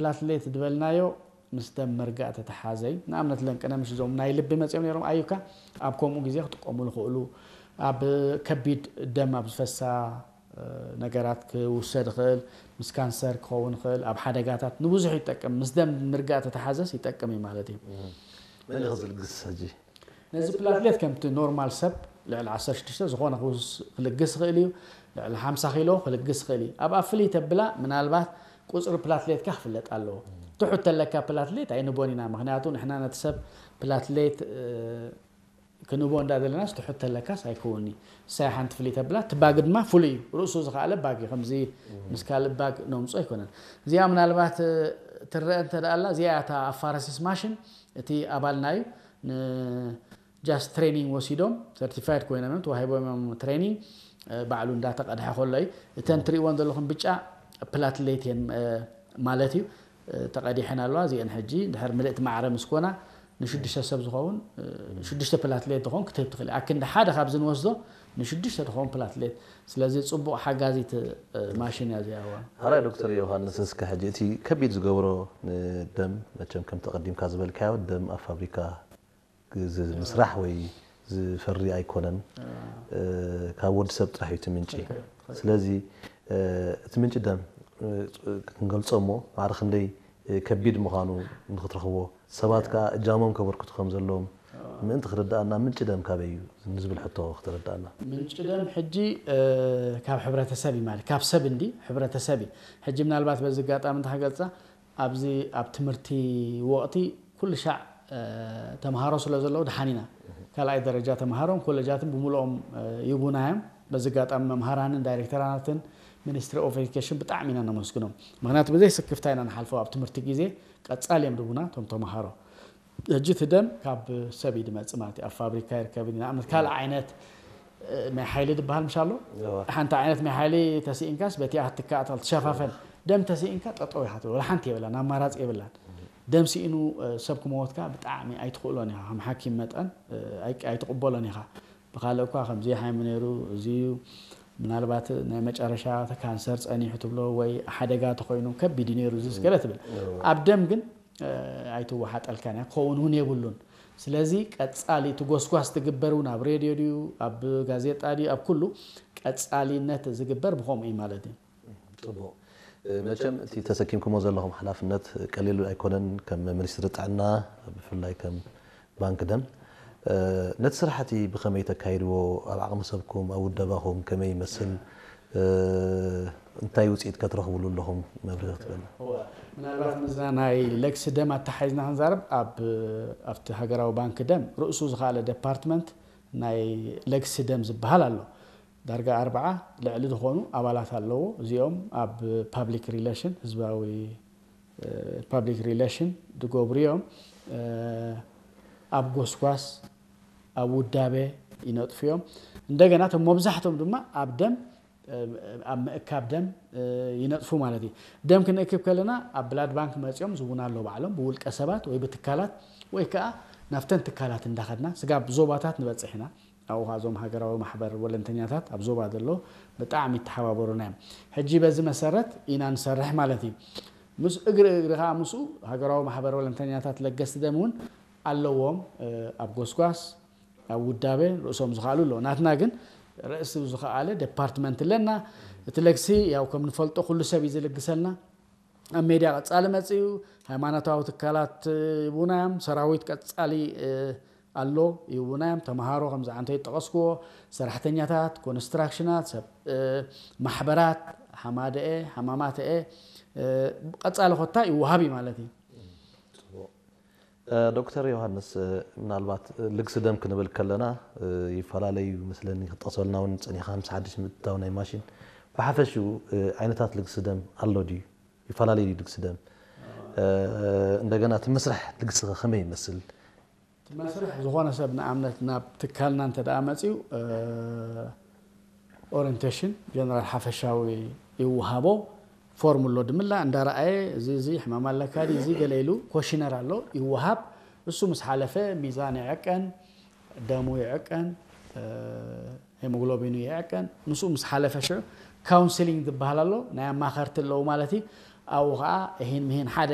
ፕላትሌት ዝበልናዮ ምስ ደም ምርጋእ ተተሓዘ እዩ። ንኣብነት ለንቅነ ምሽ እዞም ናይ ልቢ መፅኦም ነይሮም ኣዩካ ኣብ ከምኡ ግዜ ክጥቀሙ ዝኽእሉ ኣብ ከቢድ ደም ኣብ ዝፈሳ ነገራት ክውሰድ ይኽእል፣ ምስ ካንሰር ክኸውን ይኽእል፣ ኣብ ሓደጋታት ንብዙሕ ይጠቅም። ምስ ደም ምርጋእ ተተሓዘስ ይጠቅም እዩ ማለት እዩ። መን እዩ ዝልግስ ሕጂ? ነዚ ፕላትሌት ከምቲ ኖርማል ሰብ ልዕሊ ዓሰርተ ሽዱሽተ ዝኾነ ክልግስ ይኽእል እዩ። ልዕሊ ሓምሳ ኪሎ ክልግስ ይኽእል እዩ። ኣብኣ ፍልይ ተብላ ምናልባት ቁፅሪ ፕላትሌትካ ክፍለጥ ኣለዎ። ትሑት ተለካ ፕላትሌት ኣይንቦን ኢና። ምክንያቱ ንሕና ነቲ ሰብ ፕላትሌት ክንቦ እንዳ ዘለናስ ትሑት ተለካስ ኣይከውንኒ። እሳይ ሓንቲ ፍልይ ተብላ ትባግ ድማ ፍሉይ እዩ። ርእሱ ዝኸኣለ ባግ እዩ። ከምዚ ምስ ካልእ ባግ ነምጾ ኣይኮነን። እዚኣ ምናልባት ትረአ እንተ ደኣ ኣላ እዚኣ እታ ኣፋረሲስ ማሽን እቲ ኣባልና እዩ። ጃስት ትሬኒንግ ወሲዶም ሰርቲፋይድ ኮይኖም እዮም ተዋሂቦም እዮም ትሬኒንግ። ባዕሉ እንዳተቐድሐ ከሎ እዩ። እተን ትሪእዎን ዘለኹም ብጫ ፕላትሌት እየን ማለት እዩ። ተቐዲሐን ኣለዋ። እዚአን ሕጂ ድሕር ምልእቲ ማዕረ ምስ ኮና ንሽዱሽተ ሰብ ዝኸውን ሽዱሽተ ፕላትሌት ዝኸውን ክትህብ ትኽእል። ኣክንዲ ሓደ ካብዚ ንወስዶ ንሽዱሽተ ዝኸውን ፕላትሌት። ስለዚ ፅቡቕ ሓጋዚት ማሽን እያ እዚኣ። እዋ ሓራይ ዶክተር ዮሃንስ፣ እስከ ሕጂ እቲ ከቢድ ዝገብሮ ንደም መቸም ከምቲ ቀዲምካ ዝበልካዮ ደም ኣብ ፋብሪካ ዝምስራሕ ወይ ዝፈሪ ኣይኮነን። ካብ ወዲ ሰብ ጥራሕ እዩ እቲ ምንጪ። ስለዚ እቲ ምንጪ ደም ክንገልጾ እሞ ማዕረ ክንደይ ከቢድ ምዃኑ ንክትረኽቦ፣ ሰባት ከኣ እጃሞም ከበርክቱ ከም ዘለዎም ምእንቲ ክርድኣና፣ ምንጪ ደም ካበይ እዩ ንዝብል ሕቶ ክትርድኣና። ምንጪ ደም ሕጂ ካብ ሕብረተሰብ እዩ ማለት ካብ ሰብ እንዲ ሕብረተሰብ እዩ። ሕጂ ምናልባት በዚ ኣጋጣሚ እንተ ክገልጻ ኣብዚ ኣብ ትምህርቲ ወቕቲ ኩሉ ሻዕ ተምሃሮ ስለ ዘለዉ ደሓን ኢና። ካልኣይ ደረጃ ተምሃሮን ኮለጃትን ብምልኦም ይቡና እዮም። በዚ ኣጋጣሚ መምሃራንን ዳይሬክተራትን ሚኒስትሪ ኦፍ ኤዱኬሽን ብጣዕሚ ኢና ነመስግኖም። ምክንያቱ ብዘይ ስክፍታ ኢና ንሓልፎ ኣብ ትምህርቲ ግዜ ቀጻሊ እዮም ድቡና እቶም ተምሃሮ። ሕጂ እቲ ደም ካብ ሰብ እዩ ድመጽእ ማለት እዩ። ኣብ ፋብሪካ ይርከብ እዩ። ንኣብነት ካልእ ዓይነት ናይ ሓይሊ ድበሃል ምሽ ኣሎ። ሓንቲ ዓይነት ናይ ሓይሊ ተስኢንካስ በቲኣ ክትትካእ ትኽእል ትሸፋፈን። ደም ተስኢንካ ጠጠው ኢኻ ትብል። ወላ ሓንቲ የብላን፣ ኣማራፂ የብላን። ደም ስኢኑ ሰብ ክመወትካ ብጣዕሚ ኣይትኽእሎን ኢኻ። ከም ሓኪም መጠን ኣይትቕበሎን ኢኻ። ብካልእ እኳ ከምዚ ሓይሚ ነይሩ እዚ እዩ ምናልባት ናይ መጨረሻ ካንሰር ጸኒሑ ትብሎ ወይ ሓደጋ ተኮይኑ ከቢድ እዩ ነይሩ እዚ ገለ ትብል። ኣብ ደም ግን ኣይትወሓጠልካን እያ፣ ክኸውን እውን የብሉን። ስለዚ ቀጻሊ እቲ ጎስጓስ ትግበር እውን ኣብ ሬድዮ ድዩ ኣብ ጋዜጣ ድዩ ኣብ ኩሉ ቀጻሊነት ዝግበር ብኸምኡ እዩ ማለት እዩ። ጽቡቕ። መቸም እቲ ተሰኪምኩሞ ዘለኹም ሓላፍነት ቀሊል ኣይኮነን። ከም ሚኒስትሪ ጥዕና ብፍላይ ከም ባንክ ደም ነቲ ስራሕቲ ብኸመይ ተካይድዎ? ኣብ ዓቕሚ ሰብኩም ኣብ ውደባኹም ከመይ ይመስል? እንታይ ውፅኢት ከትረኽብሉ ኣለኹም መብርሂ ክትበልና? ምናልባት ምስዛ ናይ ለግሲ ደም ኣተሓሒዝና ክንዛረብ ኣብቲ ሃገራዊ ባንኪ ደም ርእሱ ዝኸኣለ ዴፓርትመንት ናይ ለግሲ ደም ዝበሃል ኣሎ። ዳርጋ ኣርብዓ ልዕሊ ዝኾኑ ኣባላት ኣለዎ። እዚኦም ኣብ ፓብሊክ ሪሌሽን ህዝባዊ ፓብሊክ ሪሌሽን ዝገብሩ እዮም። ኣብ ጎስጓስ ኣብ ውዳቤ ይነጥፉ እዮም። እንደገና እቶም መብዛሕቶም ድማ ኣብ ደም ኣብ ምእካብ ደም ይነጥፉ ማለት እዩ። ደም ክንእክብ ከለና ኣብ ብላድ ባንክ መፂኦም ዝቡና ኣሎ ባዕሎም ብውልቀ ሰባት ወይ ብትካላት ወይ ከዓ ናብተን ትካላት እንዳኸድና ስጋብ ዞባታት ንበፅሕ ኢና። ኣብኡ ከዓ እዞም ሃገራዊ ማሕበር ወለንተኛታት ኣብ ዞባ ዘሎ ብጣዕሚ ይተሓባበሩና እዮም። ሕጂ በዚ መሰረት ኢና ንሰርሕ ማለት እዩ። ምስ እግሪ እግሪ ከዓ ምስኡ ሃገራዊ ማሕበር ወለንተኛታት ለገስቲ ደም እውን ኣለዎም። ኣብ ጎስጓስ ኣብ ውዳቤ ርእሶም ዝኸኣሉ ኣለዎ። ናትና ግን ርእሲ ዝኸኣለ ዴፓርትመንት ኣለና። እቲ ለግሲ ያው ከም ንፈልጦ ኩሉ ሰብ እዩ ዝልግሰልና። ኣብ ሜድያ ቀጻሊ መጽኡ፣ ሃይማኖታዊ ትካላት ይቡና እዮም፣ ሰራዊት ቀጻሊ ኣሎ ይቡና እዮም፣ ተምሃሮ ከምዚ ዓንተ ይጠቐስክዎ፣ ሰራሕተኛታት፣ ኮንስትራክሽናት፣ ሰብ ማሕበራት፣ ሓማደኤ፣ ሓማማተኤ ቀጻሊ ኮታ ይወሃብ እዩ ማለት እዩ። ዶክተር ዮሃንስ፣ ምናልባት ልግሲ ደም ክንብል ከለና ይፈላለዩ መስለኒ ክትጠቕሰልና እውን ጸኒኻ ምስ ሓድሽ ምእትታው ናይ ማሽን ብሓፈሽኡ ዓይነታት ልግሲ ደም ኣሎ ድዩ? ይፈላለዩ ድዩ ልግሲ ደም? እንደገና እቲ መስርሕ ልግሲ ከ ከመይ ይመስል? እቲ መስርሕ ዝኾነ ሰብ ንኣብነት ናብ ትካልና እንተ ደኣ መጺኡ ኦሪንቴሽን ጀነራል ሓፈሻዊ ይወሃቦ። ፎርም ኣሎ ድምላ እንዳረኣየ እዚ እዚ ሕማም ኣለካ ድዩ እዚ ገለ ኢሉ ኮሽነር ኣሎ ይወሃብ። እሱ ምስ ሓለፈ ሚዛን ይዕቀን፣ ደሙ ይዕቀን፣ ሄሞግሎቢኑ ይዕቀን። ምስኡ ምስ ሓለፈ ሽዑ ካውንስሊንግ ዝበሃል ኣሎ ናይ ኣማኸርቲ ኣለዉ ማለት እዩ። ኣብኡ ከዓ እሂን ምሂን ሓደ